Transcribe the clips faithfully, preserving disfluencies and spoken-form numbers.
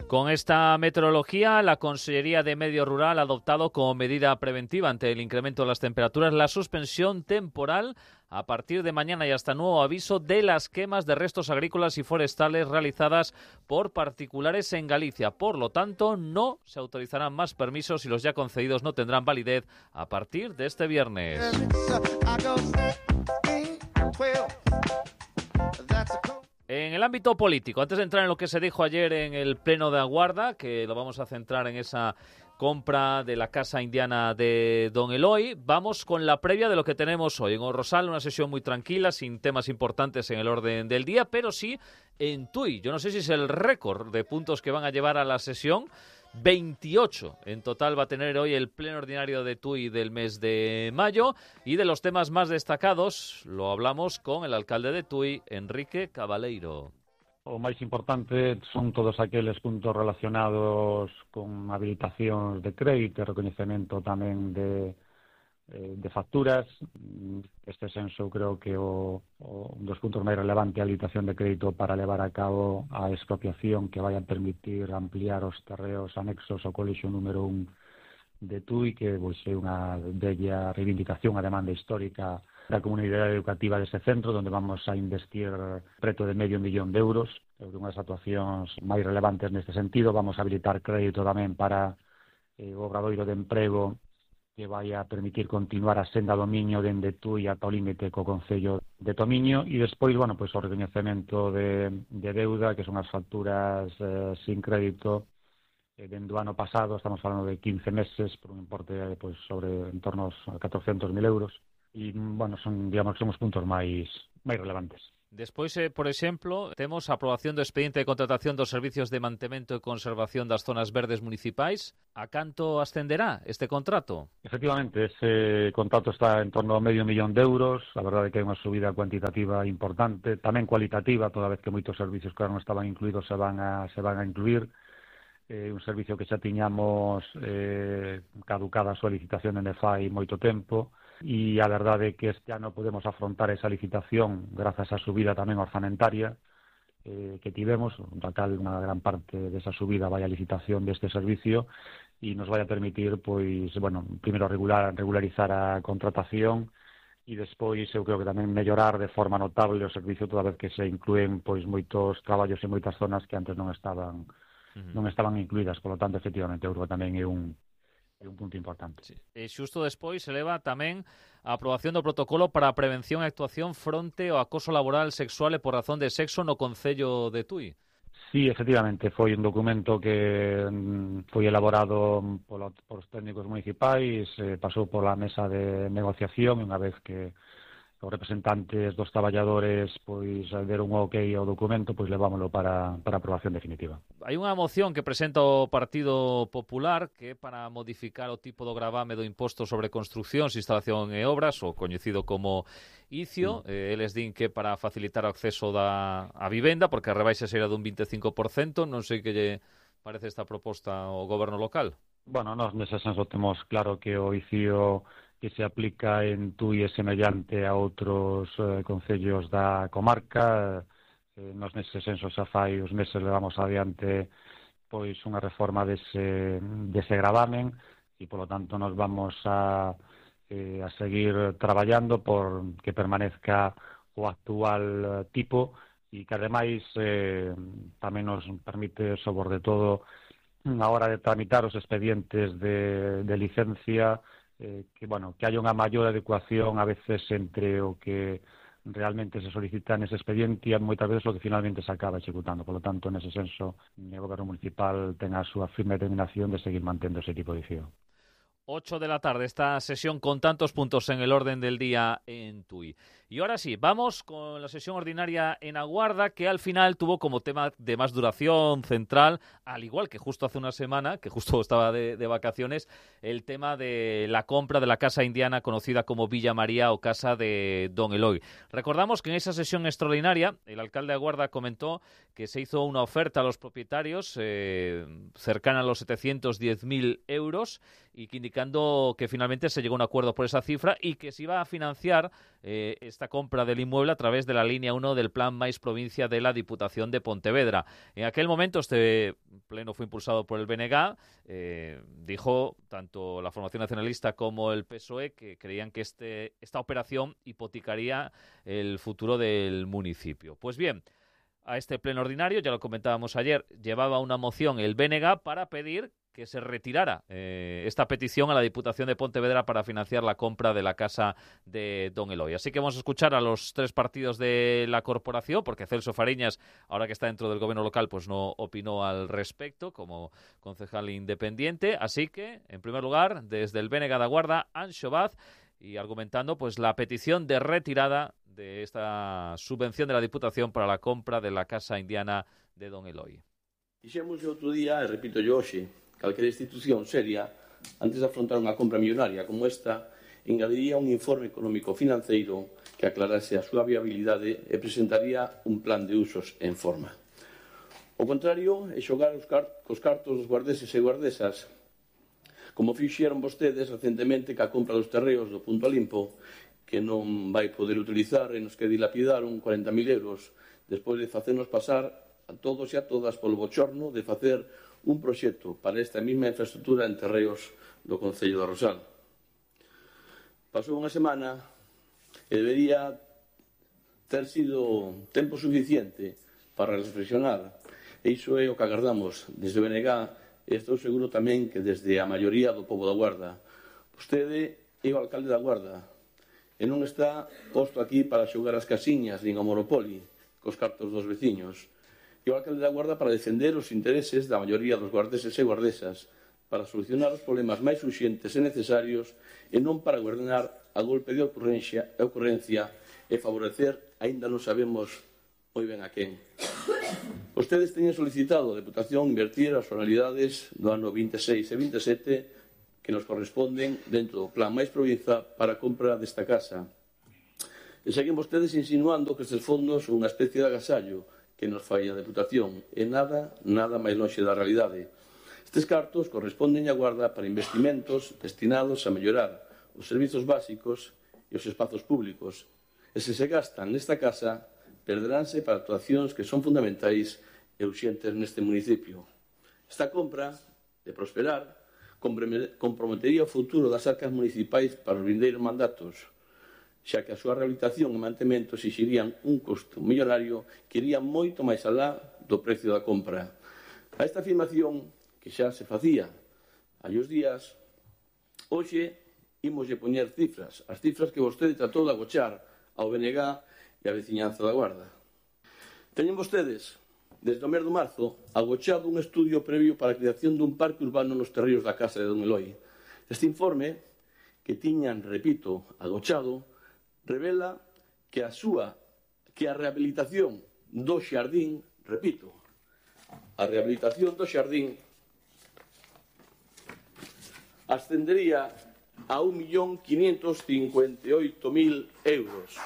Con esta meteorología, la Consellería de Medio Rural ha adoptado como medida preventiva ante el incremento de las temperaturas la suspensión temporal a partir de mañana y hasta nuevo aviso de las quemas de restos agrícolas y forestales realizadas por particulares en Galicia. Por lo tanto, no se autorizarán más permisos y los ya concedidos no tendrán validez a partir de este viernes. En el ámbito político, antes de entrar en lo que se dijo ayer en el Pleno de Aguarda, que lo vamos a centrar en esa compra de la Casa Indiana de Don Eloy, vamos con la previa de lo que tenemos hoy. En O Rosal, una sesión muy tranquila, sin temas importantes en el orden del día, pero sí en Tui. Yo no sé si es el récord de puntos que van a llevar a la sesión. veintiocho en total va a tener hoy el pleno ordinario de Tui del mes de mayo, y de los temas más destacados lo hablamos con el alcalde de Tui, Enrique Cabaleiro. O máis importante son todos aqueles puntos relacionados con habilitacións de crédito e recoñecemento tamén de, de facturas. Este senso creo que o, o un dos puntos máis relevantes é a habilitación de crédito para levar a cabo a expropiación que vai a permitir ampliar os terreos anexos ao colexio número un de Tui, que pois, é unha bella reivindicación a demanda histórica da comunidade educativa dese centro, onde vamos a investir preto de medio millón de euros. É unha das actuacións máis relevantes neste sentido. Vamos a habilitar crédito tamén para eh, o obradoiro de emprego que vai a permitir continuar a senda do Miño dende Tui ata o límite co Concello de Tomiño, e despois, bueno, pois o recoñecemento de, de deuda, que son as facturas eh, sin crédito eh, dende o ano pasado. Estamos falando de quince meses por un importe eh, pois, sobre en torno aos catrocentos mil euros. E, bueno, son, digamos, son os puntos máis máis relevantes. Despois, eh, por exemplo, temos a aprobación do expediente de contratación dos servicios de mantemento e conservación das zonas verdes municipais. A canto ascenderá este contrato? Efectivamente, ese contrato está en torno a medio millón de euros. A verdade é que hai unha subida cuantitativa importante, tamén cualitativa, toda vez que moitos servicios que non estaban incluídos se van a, se van a incluir. Eh, un servicio que xa tiñamos eh, caducada a súa licitación en fai moito tempo, e a verdade é que este ano podemos afrontar esa licitación grazas á subida tamén orzamentaria eh, que tivemos, da cal unha gran parte desa subida vai a licitación deste servicio, e nos vai a permitir, pois, bueno, primeiro regular, regularizar a contratación, e despois eu creo que tamén mellorar de forma notable o servicio, toda vez que se inclúen pois moitos traballos en moitas zonas que antes non estaban uh-huh. non estaban incluídas. Por lo tanto, efectivamente, eu creo que tamén é un é un punto importante. Sí. E xusto despois se leva tamén a aprobación do protocolo para a prevención e actuación fronte ao acoso laboral sexual e por razón de sexo no Concello de Tui. Sí, efectivamente, foi un documento que foi elaborado polo, por os técnicos municipais, eh, pasou pola mesa de negociación, e unha vez que os representantes dos traballadores pois deron un ok ao documento, pois levámoslo para, para aprobación definitiva. Hai unha moción que presenta o Partido Popular que é para modificar o tipo do gravame do imposto sobre construcións, instalación e obras, o coñecido como I C I O. Mm. Eh, eles din que para facilitar o acceso da a vivenda, porque a rebaixa será dun vinte e cinco por cento. Non sei que lle parece esta proposta ao goberno local. Bueno, nós nese senso temos claro que o I C I O que se aplica en Tui é semellante a outros eh, concellos da comarca. Eh, nos nese senso xa fai os meses levamos adiante pois unha reforma dese, dese gravamen, e polo tanto nos vamos a, eh, a seguir traballando por que permanezca o actual tipo, e que ademais eh, tamén nos permite, sobre todo, a hora de tramitar os expedientes de, de licencia, Eh, que, bueno, que haya unha maior adecuación a veces entre o que realmente se solicita nese expediente e moitas veces o que finalmente se acaba executando. Por lo tanto, nese senso, o goberno municipal ten a súa firme determinación de seguir mantendo ese tipo de I C I O. ocho de la tarde, esta sesión con tantos puntos en el orden del día en Tui. Y ahora sí, vamos con la sesión ordinaria en Aguarda, que al final tuvo como tema de más duración central, al igual que justo hace una semana, que justo estaba de, de vacaciones, el tema de la compra de la Casa Indiana conocida como Villa María o Casa de Don Eloy. Recordamos que en esa sesión extraordinaria el alcalde de Aguarda comentó que se hizo una oferta a los propietarios eh, cercana a los setecientos diez mil euros, y que indicando que finalmente se llegó a un acuerdo por esa cifra y que se iba a financiar eh, esta compra del inmueble a través de la línea uno del Plan Mais Provincia de la Diputación de Pontevedra. En aquel momento este pleno fue impulsado por el B N G, eh, dijo tanto la formación nacionalista como el P S O E que creían que este, esta operación hipotecaría el futuro del municipio. Pues bien, a este pleno ordinario, ya lo comentábamos ayer, llevaba una moción el B N G para pedir que se retirara eh, esta petición a la Diputación de Pontevedra para financiar la compra de la casa de Don Eloy. Así que vamos a escuchar a los tres partidos de la corporación, porque Celso Fariñas, ahora que está dentro del gobierno local, pues no opinó al respecto como concejal independiente. Así que, en primer lugar, desde el B N G da Guarda, Anxo Vaz, y argumentando pues la petición de retirada de esta subvención de la Diputación para la compra de la casa indiana de Don Eloy. Dixemos outro día, e repito yo hoxe, calquera institución seria, antes de afrontar unha compra millonaria como esta, engadiría un informe económico-financeiro que aclarase a súa viabilidade e presentaría un plan de usos en forma. O contrario é xogar os car cos cartos dos guardeses e guardesas, como fixeron vostedes recentemente ca compra dos terreos do Punto Limpo, que non vai poder utilizar e nos que dilapidaron cuarenta mil euros despois de facernos pasar a todos e a todas polo bochorno de facer un proxecto para esta mesma infraestructura en terreos do Concello de Rosal. Pasou unha semana e debería ter sido tempo suficiente para reflexionar, e iso é o que agardamos desde o B N G, e estou seguro tamén que desde a maioría do pobo da Guarda. Vostede é o alcalde da Guarda e non está posto aquí para xogar as casiñas nin ao Monopoly cos cartos dos veciños. E o alcalde da Guarda para defender os intereses da maioría dos guardeses e guardesas, para solucionar os problemas máis urxentes e necesarios e non para gobernar a golpe de ocurrencia, ocurrencia e favorecer, aínda non sabemos moi ben a quen. Vostedes teñen solicitado a Deputación invertir as formalidades do ano vinte e seis e vinte e sete que nos corresponden dentro do Plan Mais Provincia para a compra desta casa. E seguen vostedes insinuando que estes fondos son unha especie de agasallo que nos fai a Deputación, e nada, nada máis lonxe da realidade. Estes cartos corresponden á Guarda para investimentos destinados a mellorar os servizos básicos e os espazos públicos, e se se gastan nesta casa, perderánse para actuacións que son fundamentais e urxentes neste municipio. Esta compra, de prosperar, comprometería o futuro das arcas municipais para os vindeiros mandatos, xa que a súa rehabilitación e mantemento exixirían un custo millonario que iría moito máis alá do precio da compra. A esta afirmación, que xa se facía hai os días, hoxe imoslle poñer cifras, as cifras que vostede tratou de agochar ao B N G e a veciñanza da Guarda. Teñen vostedes, desde o mes de marzo, agochado un estudio previo para a creación dun parque urbano nos terreos da casa de Don Eloy. Este informe, que tiñan, repito, agochado, revela que a súa, que a rehabilitación do xardín, repito, a rehabilitación do xardín ascendería a un millón quinientos cincuenta e oito mil euros.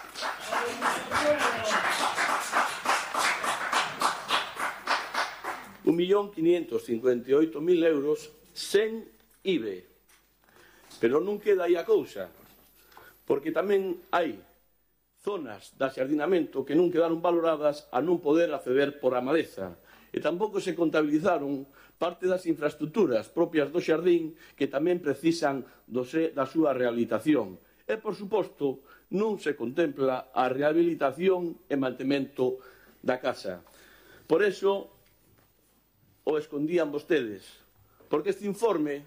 un millón quinientos cincuenta e oito mil euros sen I V A. Pero non queda aí a cousa, porque tamén hai zonas de axardinamento que non quedaron valoradas a non poder acceder por a maleza, e tampouco se contabilizaron parte das infraestructuras propias do xardín que tamén precisan do se, da súa rehabilitación. E, por suposto, non se contempla a rehabilitación e mantemento da casa. Por eso, o escondían vostedes, porque este informe,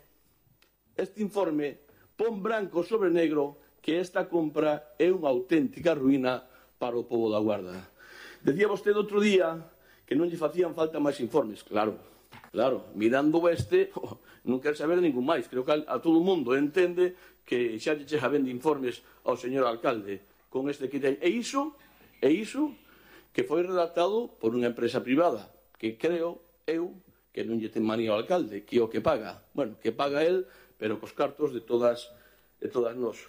este informe pon branco sobre negro que esta compra é unha auténtica ruína para o pobo da Guarda. Decía vostede outro día que non lle facían falta máis informes. Claro, claro, mirando este, oh, non quer saber ningún máis. Creo que a, a todo o mundo entende que xa lle chega ben de informes ao señor alcalde con este que ten. E iso, e iso que foi redactado por unha empresa privada, que creo eu que non lle ten manía ao alcalde, que é o que paga. Bueno, que paga el, pero cos cartos de todas, de todas nós.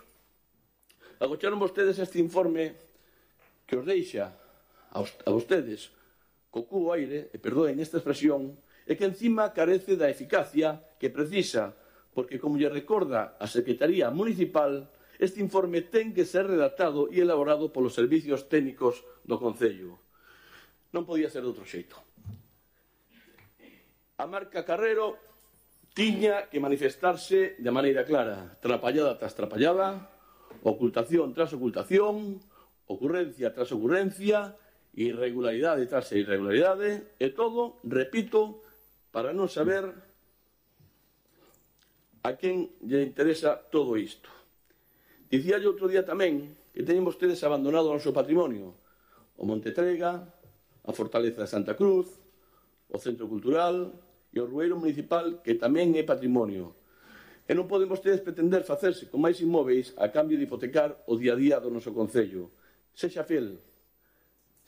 Agocharon vostedes este informe que os deixa a, a vostedes co cu aire, e perdoen esta expresión, e que encima carece da eficacia que precisa porque, como lle recorda a Secretaría Municipal, este informe ten que ser redactado e elaborado polos servicios técnicos do Concello. Non podía ser de outro xeito. A marca Carrero tiña que manifestarse de maneira clara, trapallada tras trapallada, ocultación tras ocultación, ocurrencia tras ocurrencia, irregularidade tras irregularidade, e todo, repito, para non saber a quen lle interesa todo isto. Dicía yo outro día tamén que teñen vostedes abandonado o noso patrimonio, o Monte Trega, a Fortaleza de Santa Cruz, o Centro Cultural e o Rueiro Municipal, que tamén é patrimonio. E non poden vostedes pretender facerse con máis inmóveis a cambio de hipotecar o día a día do noso Concello. Sexa fiel.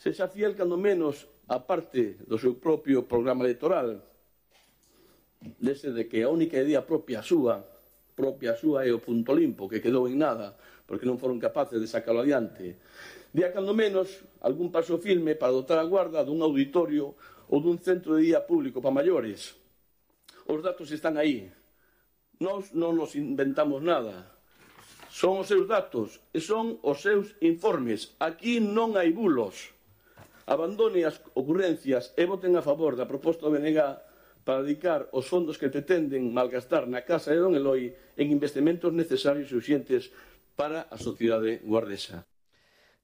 Sexa fiel, cando menos, a parte do seu propio programa electoral, dese de que a única idea propia súa, propia súa é o punto limpo, que quedou en nada, porque non foron capaces de sacarlo adiante. Día, cando menos, algún paso firme para dotar a Guarda dun auditorio ou dun centro de día público para maiores. Os datos están aí. Nós non nos inventamos nada. Son os seus datos e son os seus informes. Aquí non hai bulos. Abandone as ocurrencias e voten a favor da proposta do B N G para dedicar os fondos que pretenden malgastar na Casa de Don Eloi en investimentos necesarios e urxentes para a sociedade guardesa.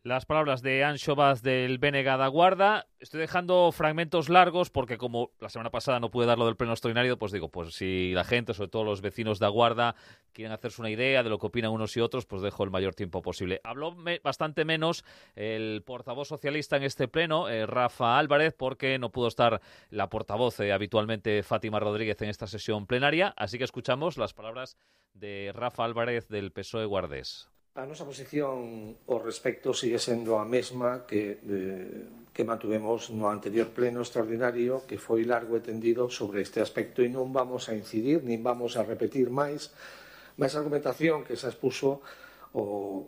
Las palabras de Anxo Vaz del B N G da Guarda. Estoy dejando fragmentos largos porque como la semana pasada no pude dar lo del pleno extraordinario, pues digo, pues si la gente, sobre todo los vecinos de Guarda, quieren hacerse una idea de lo que opinan unos y otros, pues dejo el mayor tiempo posible. Habló me, bastante menos el portavoz socialista en este pleno, eh, Rafa Álvarez, porque no pudo estar la portavoz eh, habitualmente Fátima Rodríguez en esta sesión plenaria, así que escuchamos las palabras de Rafa Álvarez del P S O E guardés. A nosa posición ao respecto sigue sendo a mesma que, eh, que mantuvemos no anterior pleno extraordinario, que foi largo e tendido sobre este aspecto, e non vamos a incidir, nin vamos a repetir máis máis argumentación que se expuso o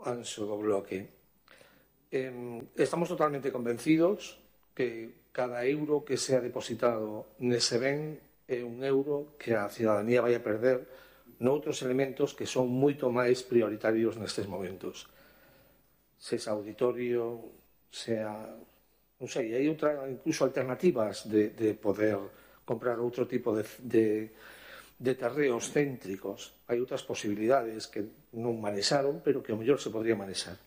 Anxo do bloque. Eh, estamos totalmente convencidos que cada euro que sea depositado nese ben é un euro que a cidadanía vai a perder noutros elementos que son moito máis prioritarios nestes momentos. Se é auditorio, sea, non sei, hai outra, incluso alternativas de, de poder comprar outro tipo de, de, de terreos céntricos. Hai outras posibilidades que non manexaron, pero que ao mellor se podría manexar.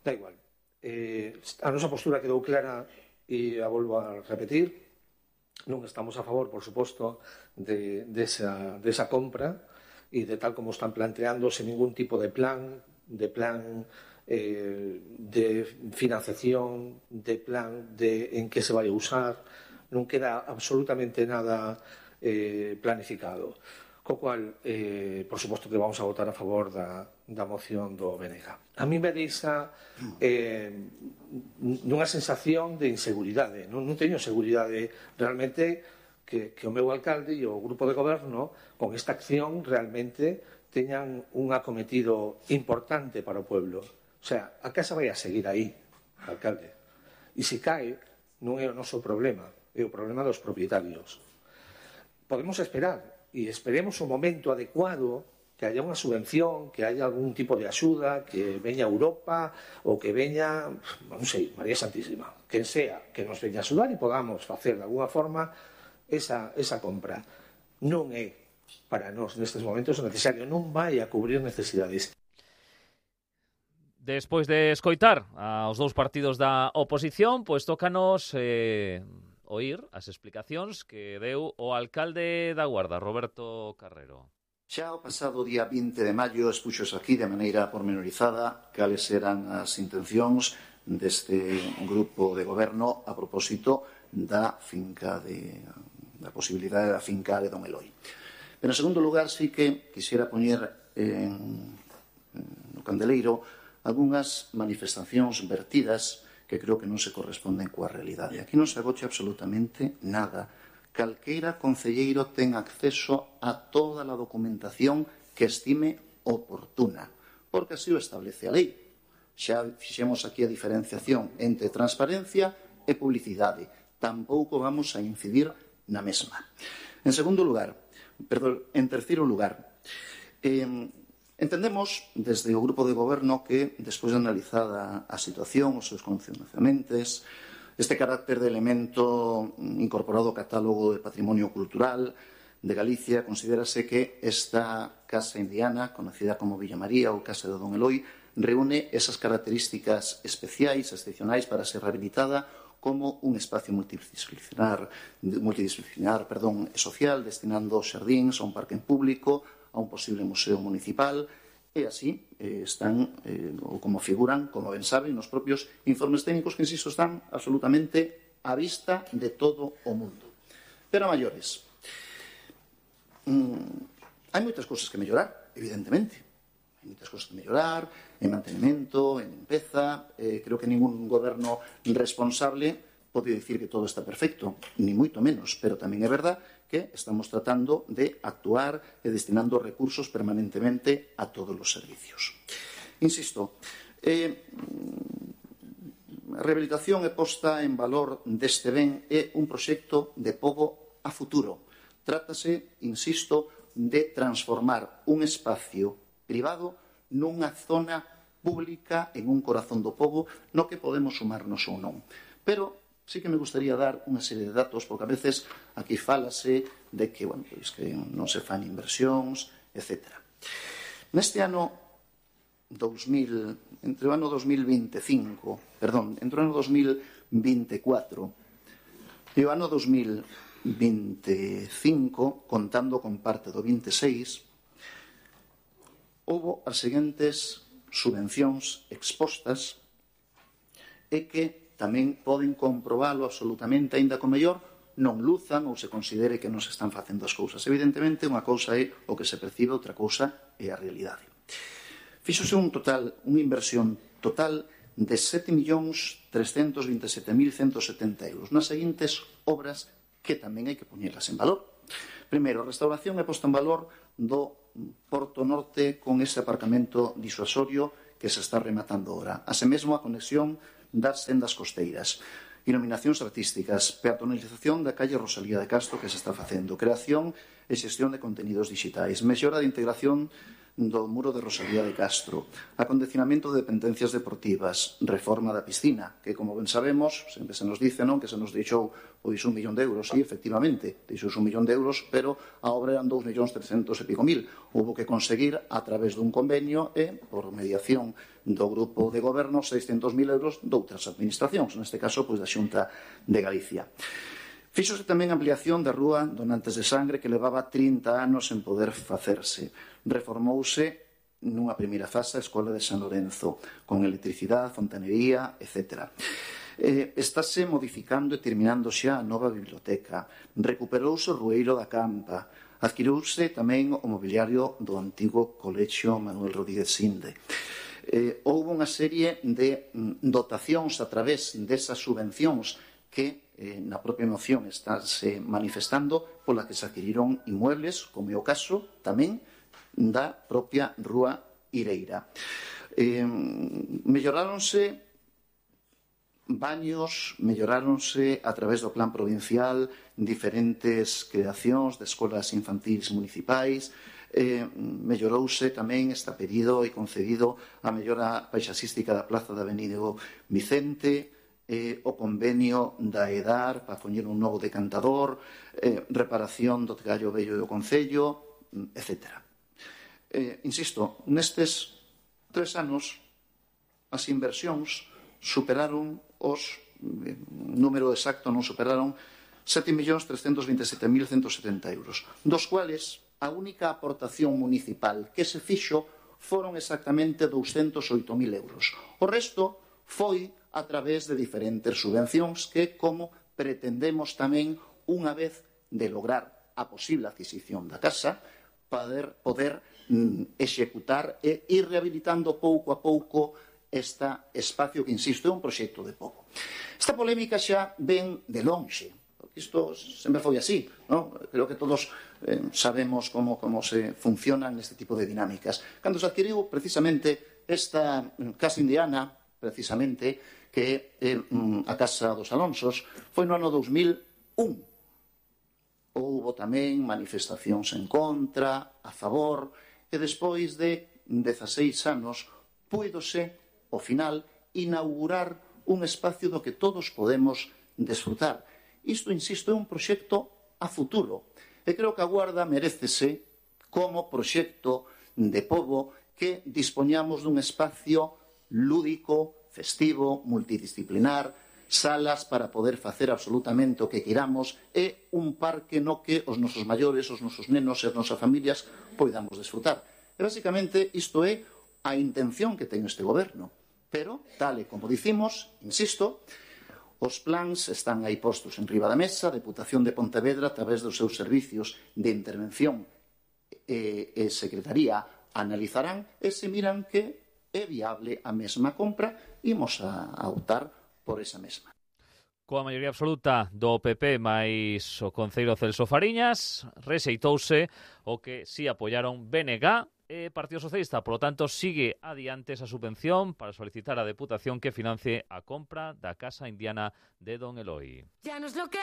Da igual. Eh, a nosa postura quedou clara e a volvo a repetir. Non estamos a favor, por suposto, de, de, esa, de esa compra, y de tal como están planteándose ningún tipo de plan, de plan eh, de financiación, de plan de en qué se vaya a usar, non queda absolutamente nada eh, planificado. Co cual, eh, por suposto que vamos a votar a favor da, da moción do B N G. A mí me deixa eh, nunha sensación de inseguridade. Non, non teño seguridade realmente que, que o meu alcalde e o grupo de goberno con esta acción realmente teñan un acometido importante para o pueblo. O sea, a casa vai a seguir aí, alcalde. E se cae, non é o noso problema, é o problema dos propietarios. Podemos esperar, e esperemos un momento adecuado, que haya unha subvención, que haya algún tipo de axuda, que veña Europa, ou que veña, non sei, María Santísima, quen sea, que nos veña a axudar e podamos facer de alguna forma Esa, esa compra. Non é para nós nestes momentos necesario, non vai a cubrir necesidades. Despois de escoitar aos dous partidos da oposición, pois tócanos eh, oír as explicacións que deu o alcalde da Guarda, Roberto Carrero. Xa o pasado día vinte de maio expuxos aquí de maneira pormenorizada cales eran as intencións deste grupo de goberno a propósito da finca de da posibilidade da finca de Don Eloi. Pero, en segundo lugar, sí que quixera poñer en, no candeleiro algunhas manifestacións vertidas que creo que non se corresponden coa realidade. Aquí non se agocha absolutamente nada. Calqueira concelleiro ten acceso a toda a documentación que estime oportuna, porque así o establece a lei. Xa fixemos aquí a diferenciación entre transparencia e publicidade. Tampouco vamos a incidir na mesma. En segundo lugar, Perdón, en terceiro lugar, eh, entendemos desde o Grupo de Goberno que, despois de analizada a situación, os seus condicionamentos, este carácter de elemento incorporado ao catálogo de patrimonio cultural de Galicia, considérase que esta Casa Indiana, conocida como Villa María ou Casa de Don Eloi, reúne esas características especiais, excepcionais para ser rehabilitada como un espacio multidisciplinar, multidisciplinar perdón, e social, destinando xardíns a un parque en público, a un posible museo municipal, e así eh, están, eh, ou como figuran, como ben saben, nos propios informes técnicos que, insisto, están absolutamente á vista de todo o mundo. Pero a maiores, mm, hai moitas cousas que mellorar, evidentemente. Hai moitas cousas que mellorar, en mantenimento, en limpeza. Eh, creo que ningún goberno responsable pode dicir que todo está perfecto, ni moito menos, pero tamén é verdad que estamos tratando de actuar e destinando recursos permanentemente a todos os servicios. Insisto, eh, a rehabilitación e posta en valor deste ben é un proxecto de pobo a futuro. Trátase, insisto, de transformar un espacio privado nunha zona pública en un corazón do pobo no que podemos sumarnos ou non. Pero sí que me gustaría dar unha serie de datos, porque a veces aquí fálase de que, bueno, pois que non se fan inversións, etcétera. Neste ano dos mil, entre o ano dos mil veinticinco, perdón, entre o ano dos mil veinticuatro e o ano dos mil veinticinco, contando con parte do veintiséis, houbo as seguintes subvencións expostas e que tamén poden comprobalo absolutamente, aínda co mellor non luzan ou se considere que non se están facendo as cousas. Evidentemente, unha cousa é o que se percibe, outra cousa é a realidade. Fíxose un total, unha inversión total de sete millóns trescentos veintisiete mil ciento setenta euros nas seguintes obras que tamén hai que poñelas en valor. Primeiro, a restauración e posta en valor do Porto Norte con ese aparcamento disuasorio que se está rematando ahora. Así mesmo a conexión das sendas costeiras, iluminacións artísticas, peatonalización da calle Rosalía de Castro que se está facendo, creación e xestión de contenidos digitais, mellora de integración do muro de Rosalía de Castro, acondicionamento de dependencias deportivas, reforma da piscina, que, como ben sabemos, sempre se nos dice, non, que se nos deixou pois un millón de euros. Sí, efectivamente, deixouse un millón de euros, pero a obra eran dous millóns trescentos e pico mil. Houbo que conseguir, a través dun convenio e, por mediación do Grupo de Goberno, seiscentos mil euros doutras administracións, neste caso, pois da Xunta de Galicia. Fíxose tamén a ampliación da rúa Donantes de Sangre, que levaba trinta anos en poder facerse. Reformouse nunha primeira fase a Escola de San Lorenzo, con electricidade, fontanería, etcétera. Eh, estáse modificando e terminando xa a nova biblioteca. Recuperouse o Rueiro da Campa. Adquiriuse tamén o mobiliario do antigo Colexio Manuel Rodríguez Sinde. Eh, houve unha serie de dotacións a través desas subvencións que eh, na propia moción estáse manifestando, pola que se adquiriron inmuebles, como é o caso tamén da propia Rúa Ireira. Eh, melloráronse baños, melloráronse a través do plan provincial diferentes creacións de escolas infantis municipais, eh, mellorouse tamén, está pedido e concedido a mellora paisaxística da Plaza da Avenida Vicente, eh, o convenio da EDAR para poñer un novo decantador, eh, reparación do Gallo Vello do Concello, etcétera. Eh, insisto, nestes tres anos as inversións superaron os, eh, número exacto non superaron sete millóns trescentos veintisiete mil ciento setenta euros, dos cuales a única aportación municipal que se fixo foron exactamente douscentos oito mil euros. O resto foi a través de diferentes subvencións que, como pretendemos tamén, unha vez de lograr a posible adquisición da casa, poder, poder mm, executar e ir rehabilitando pouco a pouco este espacio que, insisto, é un proxecto de pobo. Esta polémica xa ven de lonxe, porque isto sempre foi así, non? Creo que todos eh, sabemos como, como se funcionan este tipo de dinámicas. Cando se adquiriu precisamente esta Casa Indiana, precisamente, que é eh, a Casa dos Alonsos, foi no ano dos mil un. houbo tamén manifestacións en contra, a favor, e despois de dezaseis anos púidose, ao final, inaugurar un espacio do que todos podemos desfrutar. Isto, insisto, é un proxecto a futuro. E creo que a Guarda merécese como proxecto de pobo que dispoñamos dun espacio lúdico, festivo, multidisciplinar, salas para poder facer absolutamente o que queramos e un parque no que os nosos maiores, os nosos nenos e as nosas familias poidamos desfrutar. E, basicamente, isto é a intención que ten este goberno. Pero, tal e como dicimos, insisto, os plans están aí postos en riba da mesa, a Deputación de Pontevedra, a través dos seus servicios de intervención e, e secretaría, analizarán e se miran que é viable a mesma compra, imos a, a optar por esa mesma. Coa maioría absoluta do P P máis o concelleiro Celso Fariñas, rexeitouse o que si apoiaron B N G e Partido Socialista. Por lo tanto, sigue adiante esa subvención para solicitar á Deputación que financie a compra da Casa Indiana de Don Eloi.